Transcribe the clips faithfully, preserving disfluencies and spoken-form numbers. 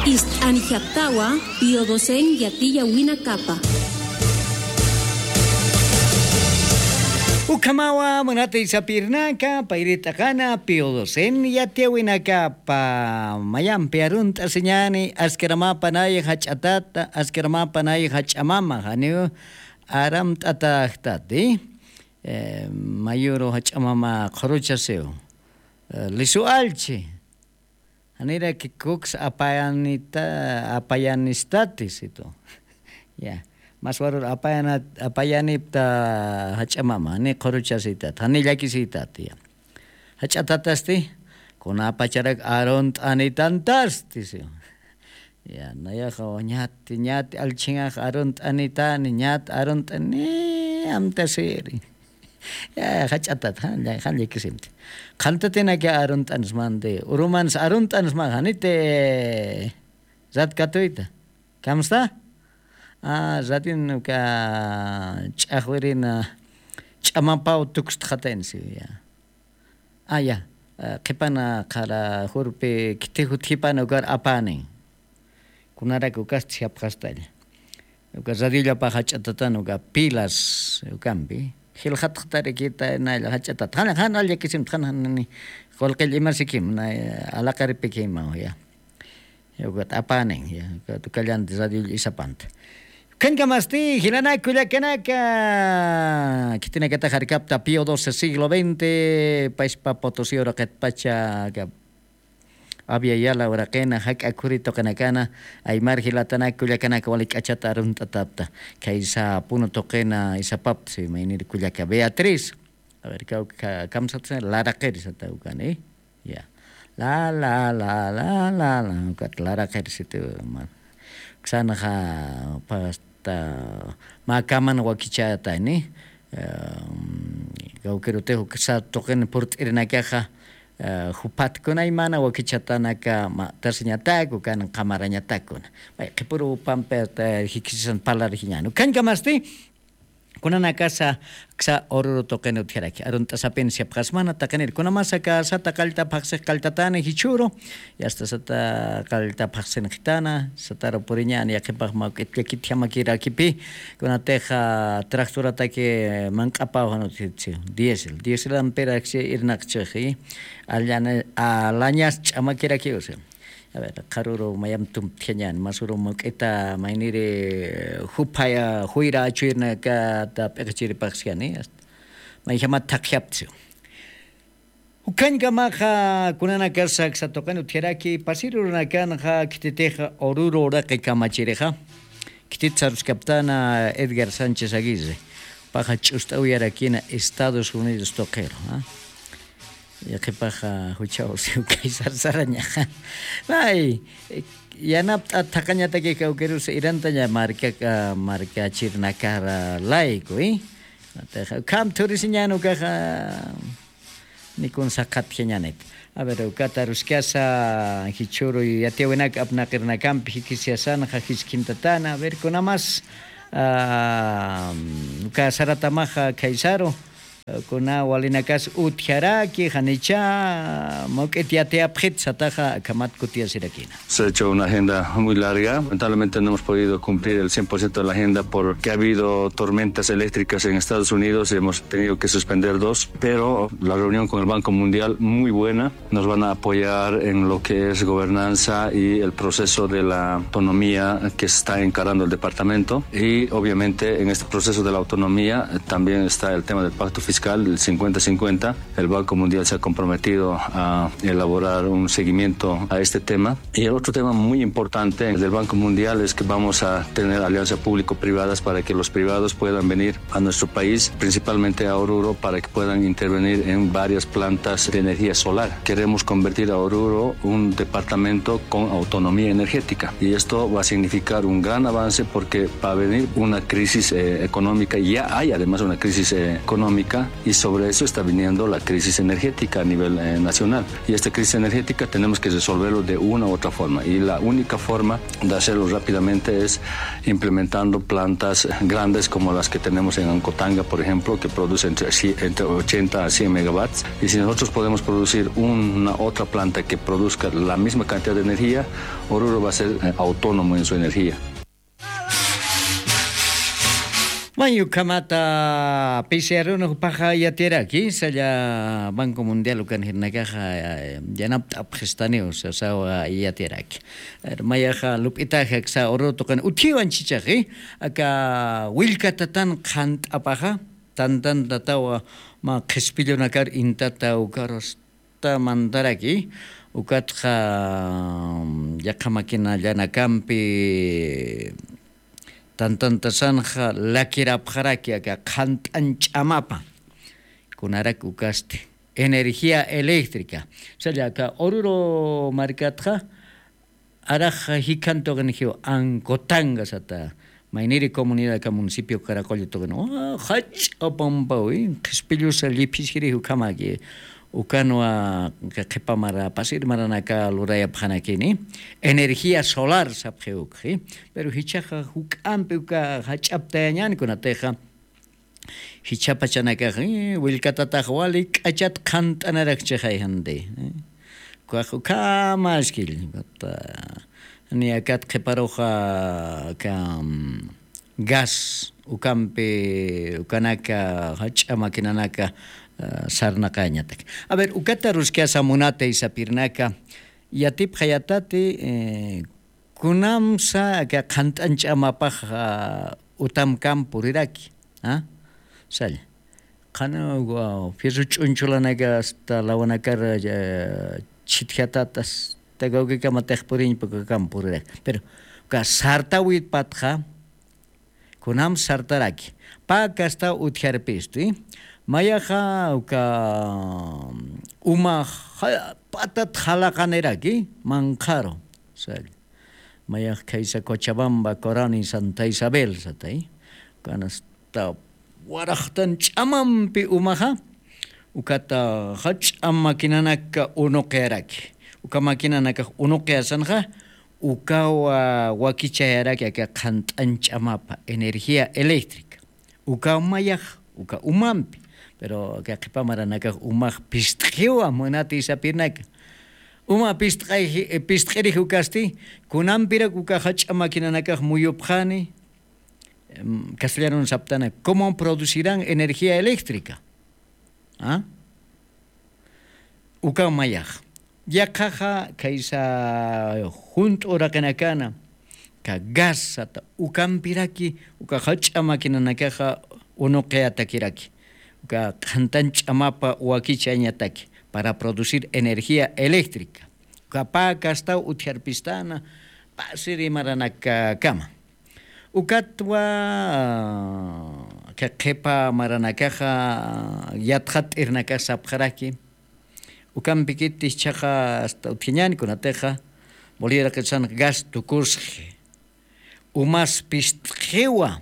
Ist'anijaptawa Pío Docen yatiyawinakapa. Ukhamawa munatay sapirnaka, payri t'aqana Pío Docen yatiyawinakapa. Mayampi arunt'asiñani, askaramapa nay jach'atata, askaramapa nay jach'amama, janiw aramt'atajtati. Eh, mayuru jach'amama qhuruchasiw. Eh, lisu allchi. Janiraki kuks apayanita, apayanistati situ. Ya. Mas warur apayana, apayanipta jach'amama, jani qhuruchasitat, jani llakisitat, ya. Jach'atatasti, kunapacharak arunt'anitantasti, si. Ya, nayaxa ñat, ñat allchingax arunt'anitani, ñat arunt'ani, amtasiri. Ya, jach'atat, jan, jan llakisimti. Qhantatinaki arunt'ansmandi, urumansa arunt'ansma, janiti rat katuyta. Kamsta? Ah, ratin uka ch'axwirina ch'amapaw tukstxataynsi, ya. Ah, ya. Ah, qhipana qhara jurpi khithi jutjipana ukar apänin. Kunarak ukasti japxastalla. Uka radiollapax jach'atatan uka pilas ukampi. Jilxatxtarakita naylla jach'atat. Jan, jan, jan llakisimta, jan, jan, ni qullqill imasikim, na, alaqaripikima, ya. Ukat apänin, ya, ukat ukallanti radio isapanta. Ukhañkamasti, jilanaka, kullakanaka, khitinakatax arkapta Pío doce siglo veinte, payspa Potosí uraqitpacha, ka-, Abya Yala uraqina, jak'a khuri tuqinakana, aymar jilatanak, kullakanaka, wali k'achata arunt'atapta, khaysa Puno tuqina isapapta, si maynir kullaka Beatriz. A ver, kawka, kamsatsa, laraqir sata ukani. Ya. La, la, la, la, la, la, ukat laraqir situ, ma. Uksanxa, pasta, mä kaman wakichatani, em, kawkirutix uksa tuqin purt'irinakaxa, eh, juphat kuna aymana wakichatanaka, ma, tarsiñatak, ukan qamarañatak kuna. May, qhipuru pampi, eh, jikisisan parlarjiñan. Ukhañkamasti, kunanakasa, aksa Oruro tuqin utjaraki. Arunt'asapin siyapxasmana taqinir. Kunamasa aka sata qallta phaxsix qalltatani jichhüru. Yasta sata qallta phaxsinxitana. Sataru puriñani yaqhipax mawk'it llakit jamakirakipi. Kunatixa tractorataki manq'apaw jan utjitsi. Diésel. Diésel amperaksi irnaqchixi. Allana, alañas ch'amakirakiw si. A ver, qharüru mayamp tumptjañäni, masüru mawk'ita mayniri, eh, juphaya, juyra achuyirnakata p'iqichiripaxsiani, hasta mayjamat thaqjaptsi. Ukhañkamaxa kunanakasa aksa tuqin utjaraki, pasir urunakanxa khititixa Oruro uraqi kamachirixa, khitit saruskaptana Edgar Sánchez Aguirre, paxa ch'ust'awiyarakina Estados Unidos tuqiru, ¿ah? Yaqhipaxa juchaw siw kay sarsarañaxa. Ay, yanapt'a thaqañataki kawkirus irantaña markaka, markachirnakara layku, ¿eh? Ukham thurisiñan ukaxa, nikun saqhatjiñanit. A ver, ukat aruskasa jichhüru yatiyäwinak apnaqirinakampi jikisiyasanxa jiskintatana. A ver, kunamas, ah, uka saratamaxa khaysaru, kuna walinakas utjaraki, janicha, mawk'it yatiyapxit sataxa, akhamat kutiyasirakina. Se ha hecho una agenda muy larga. Lamentablemente no hemos podido cumplir el cien por ciento de la agenda porque ha habido tormentas eléctricas en Estados Unidos y hemos tenido que suspender dos, pero la reunión con el Banco Mundial muy buena. Nos van a apoyar en lo que es gobernanza y el proceso de la autonomía que está encarando el departamento. Y obviamente en este proceso de la autonomía, eh, también está el tema del pacto fiscal, el cincuenta cincuenta. El Banco Mundial se ha comprometido a elaborar un seguimiento a este tema. Y el otro tema muy importante del Banco Mundial es que vamos a tener alianzas público-privadas para que los privados puedan venir a nuestro país, principalmente a Oruro, para que puedan intervenir en varias plantas de energía solar. Queremos convertir a Oruro un departamento con autonomía energética y esto va a significar un gran avance porque va a venir una crisis, eh, económica. Ya hay además una crisis, eh, económica, Y sobre eso está viniendo la crisis energética a nivel eh, nacional. Y esta crisis energética tenemos que resolverlo de una u otra forma. Y la única forma de hacerlo rápidamente es implementando plantas grandes como las que tenemos en Ancotanga, por ejemplo, que produce entre, entre ochenta a cien megawatts. Y si nosotros podemos producir una otra planta que produzca la misma cantidad de energía, Oruro va a ser eh, autónomo en su energía. Mayukhamata pisiarunux paxa yatiraki salla Banco Mundial ukan jirnakaxa yanapt'apxistaniw sasawa yatiraki. Mayaxa lup'itaxa ksa uru tuqin utjiwan chichaxi aka willkatatan qhant'apaxa tantantatawa ma qhispillunakar intata ukarus ta mantaraki ukatxa yaqha maquinallanakampi tantantasanxa lakirapxaraki aka qhant'an ch'amapa kunarak ukasti energía eléctrica salla aka oruro markatxa arax jikhantuqin jiw ankotanga sata mayniri comunidad aka municipio karaqulla tuqin jach'a pampawi qhispillusa lliphis jiri jukhamaki ukanwa qhipa mara pasir maranaka lurayapxanakini energía solar sapxi ukxi pero jichhaxa juk'ampi uka jach'aptayañani kunatixa jichhapachanakax willkatatax wali k'achat qhant'anarak chixay janti ukax ukhama askill ni akat qhiparuxa aka gas ukampi ukanaka jach'a maquinanaka sarnaqañatak a ver ukata ruskasa munatay sapirnaka yatipxayatati kunamsa aka qhant'an ch'amapax utamkam puriraki salla qhana fierro ch'unchulanaka asta lawanakar chhitjatata asta kawkikamatix puriñpa ukakam puriraki pero uka sartawitpatxa kunam sartaraki pä kastaw utjarpisti mayaxa uka uma patat jalaqaniraki manqharu salla mayax khaysa cochabamba corani santa isabel satay ukanasta waraxtan ch'amampi umaxa ukata jach'a maquinanaka unuqiyaraki uka maquinanakax unuqiyasanxa ukawa wakichayaraki aka qhant'an ch'amapa energía eléctrica ukaw mayax uka umampi pero aka qhipa maranakax umax pist'iwa munati sapirnaka uma pist'irix ukasti kunampirak uka jach'a maquinanakax muyupxani castellanun saptana cómo producirán energía eléctrica ukaw mayax yaqhaxa khaysa junt'u uraqinakana ka gas sata ukampiraki uka jach'a maquinanakaxa unuqiyatakiraki uka qhantan ch'amapa wakichañataki para producir energía eléctrica uka pä kastaw utjarpistana pasiri maranakakama ukatwa qhipa maranakaxa yatxat t'irnakax sapxaraki ukampikiti jichhaxa asta utjiñani kunatixa bolivia raqitsan gas tukusxi umas pist'iwa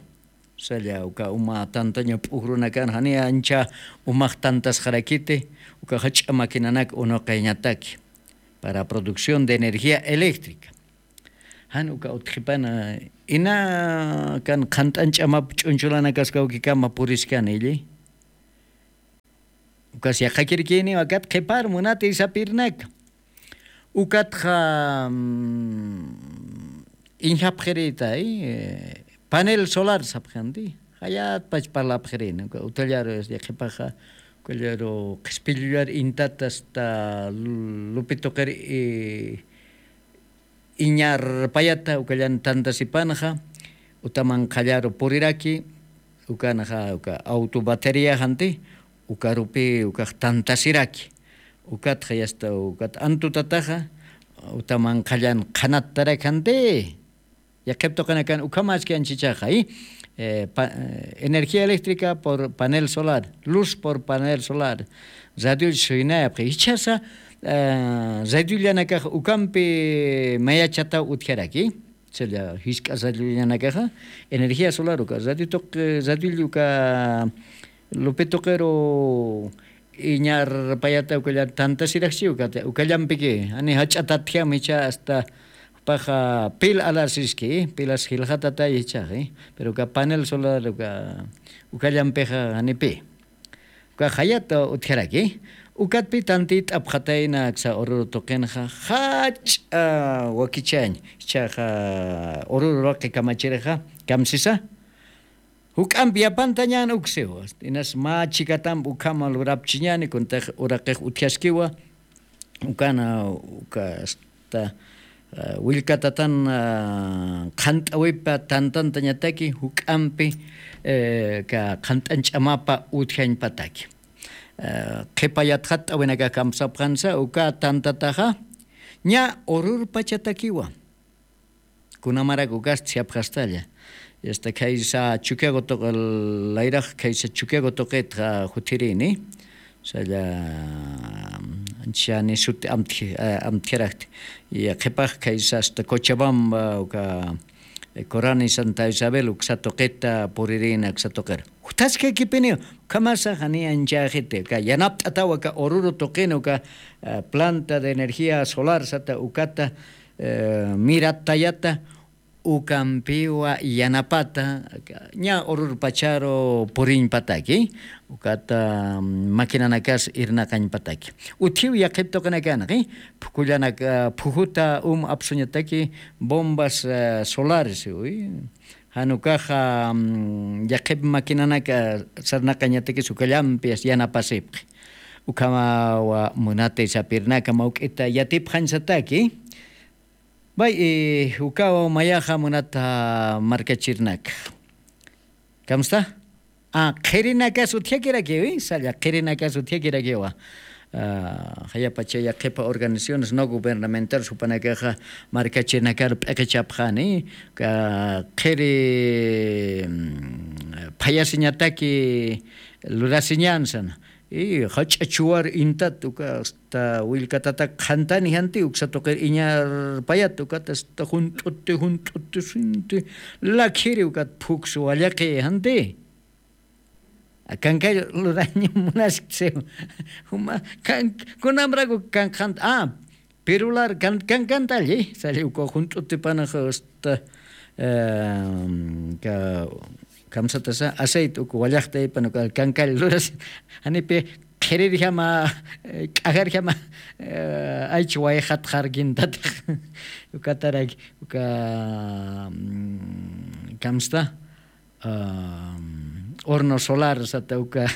salla uka uma tantaña p'ujrunakan jani ancha umax tantasxarakiti uka jach'a maquinanak unuqiñataki para producción de energía eléctrica jan uka utjipana ina kan qhant'an ch'amap ch'unchulanakaskawkikama puriskani illi ukas yaqhakirkiniw akat qhipar munati sapirnaka ukatxa iñjapxirïtay panel solar sapxanti jayatpach parlapxirini uka utjallaru yaqhipaxa ukallaru qhispillullar intata asta lupi tuqir iñarpayata ukallan tantasipanxa uta manqhallaru puriraki ukanxa uka auto batería janti ukarupi ukax tantasiraki ukatxa yasta ukat antutataxa uta manqhallan qhanattarak janti yaqhip tuqinakan ukhamaski anchichaxa energía eléctrica por panel solar luz por panel solar radioll suynayapxi jichhasa radiollanakas ukampi mayachataw utjaraki salla jisk'a radiollanakas energía solar uka radio tuq radioll uka Lupi tuqiru iñar payata ukalla tantasiraxchi ukata ukallampiki ani jach'atatjam icha asta jupaxa pil alarsiski pilas jilxatatay ichaxi. Pero uka panel solar uka ukallampixa janipi uka jayat utjaraki. Ukatpi tantit'apxatayna aksa ururu tuqinxa jach'a wakichañ ichaxa ururu raqi kamachirixa kamsisa juk'ampi yapantañan uksiwa inas mä chikatamp ukhama lurapchiñani kuntax uraqix utjaskiwa. Ukana uka asta willkatatan qhant'awipa tantantañataki juk'ampi ka qhant'an ch'amapa utjañpataki qhipa yatxat t'awinakax kamsapxansa uka tantataxa ña ururpachatakiwa. Kunamarak ukasti siyapxastalla asta khaysa chukiago tuqi layrax khaysa chukiago tuqitxa juthirini. Salla anchani suti amtjaraxti. Qhipax khaysa asta cochabamba uka corani santa isabel uksa tuqita puririna uksa tuqir juthaskakipiniw. Ukhamasa jani anchaxiti uka yanapt'ataw aka ururu tuqini uka planta de energía solar sata ukata mirattayata ukampiwa yanapata ña ururpacharu puriñpataki ukata maquinanakas irnaqañpataki. Utjiw yaqhip tuqinakanxi phukullanaka phujuta um apsuñataki bombas solares uy. Jan ukaxa yaqhip maquinanaka sarnaqañatakis ukallampi yanapasipxi. Ukhamawa munatay sapirnaka mawk'ita yatipxañsataki. Bay ukawa mayaxa munata markachirnaka kamsta qhirinakas utjakirakiwi salla qhirinakas utjakirakiwa. Jayapacha yaqhipa organizaciones no gubernamentales jupanakaxa markachinakar p'iqichapxani qhiri phayasiñataki lurasiñan sana. Jach'a chuwar intat uka asta willkatataqa qhantani janti uksa tuqir iñarpayat ukat asta junt'uti junt'uti sinti lakhiri ukat phuksu wallaqi janti. Kankay luraña munaskti siwa juma kunamraku kankxanta a pirular kankantalli sali uka junt'utipanax asta kamsatasa aceite uka wallaqtaypan uka kankalla lurasi janipi qhirirjama k'ajarjama aycha wayqatxarkintatix ukataraki uka kamsta horno solar sata uka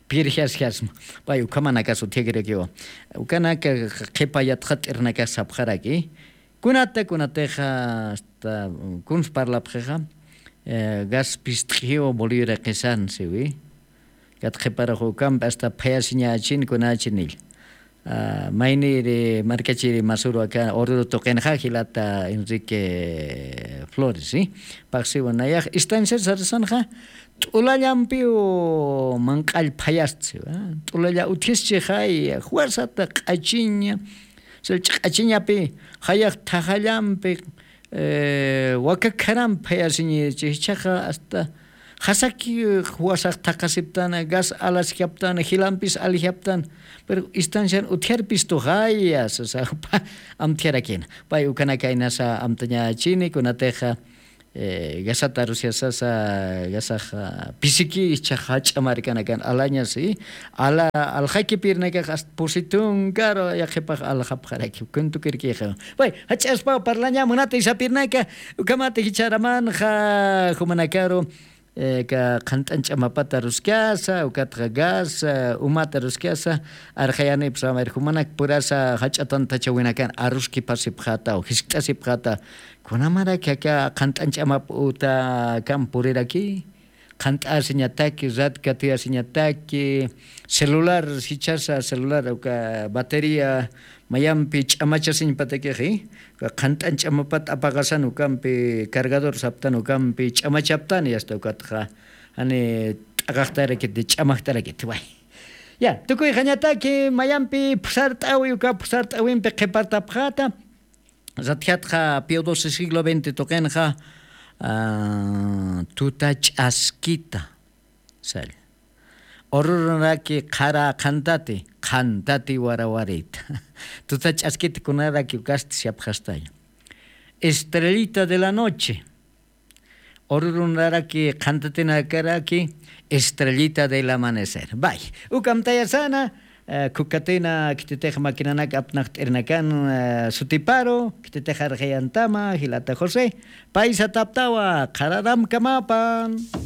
pirjasjasma pay ukhamanakas utjakirakiwa. Ukanaka qhipa yatxat'irnakas sapxaraki kunata kunatixa asta kuns parlapxixa gas pist'ijiw bolivia reqisan siwi. Kat qhiparax ukampi asta phayasiñächin kunächinilla mayniri markachiri masuru aka ururu tuqinxa jilata enrique flores si paxsiwa nayax estancia sarasanxa t'ulallampiw manq'all phayasti siwa t'ulalla utjischi jaya juwarsata q'achiña sallch'i q'achiñapi jayax thajallampi wakakharampi phayasiñichi jichhaxa asta jasaki juwasax thaqasiptana gas alasjaptana jilampis alijaptana pero estancian utjarpistu jaya sasa jupa amtjarakina pay ukanakaynasa amtañächini kunatixa gasata arusyasasa gasaxa pisiki jichhaxa jach'a markanakan alañasi ala aljaki pirnakax asta pusi tunkaru yaqhipax aljapxaraki kuntukirkixa. Pay jach'aspaw parlaña munata isapirnaka ukhamata jichharamanxa jumanakaru ka qhant'an ch'amapata ruskasa ukatxa gas umata ruskasa arxayanipsa mayr jumanak purasa jach'a tantachawinakan aruskipasipxata o jiskt'asipxata kunamarak aka qhant'an ch'amap uta kam puriraki qhant'asiñataki rat katuyasiñataki celular jichhasa celular uka batería mayampi ch'amachasiñpatakixi uka qhant'an ch'amapat apaqasan ukampi cargador saptan ukampi ch'amachaptan y asta ukatxa jani t'aqaqtarakiti ch'amaqtarakiti way. Ya tukuyxañataki mayampi phusart'awi uka phusart'awimpi qhipartapxata satjatxa pio doce siglo veinte tuqinxa tuta ch'askita salla Ururunaraki qhara qhantati qhantati warawarita. Tuta ch'askita kunaraki ukasti shapxastaya. Estrellita de la noche. Ururunaraki qhantatinakaraki estrellita del amanecer bay. Ukamtayasana. Khukatina khititix makinanak apnaqt'irinakan sutiparu khititix arxayantama jilata josé. Paysataptawa qhararamkamapan.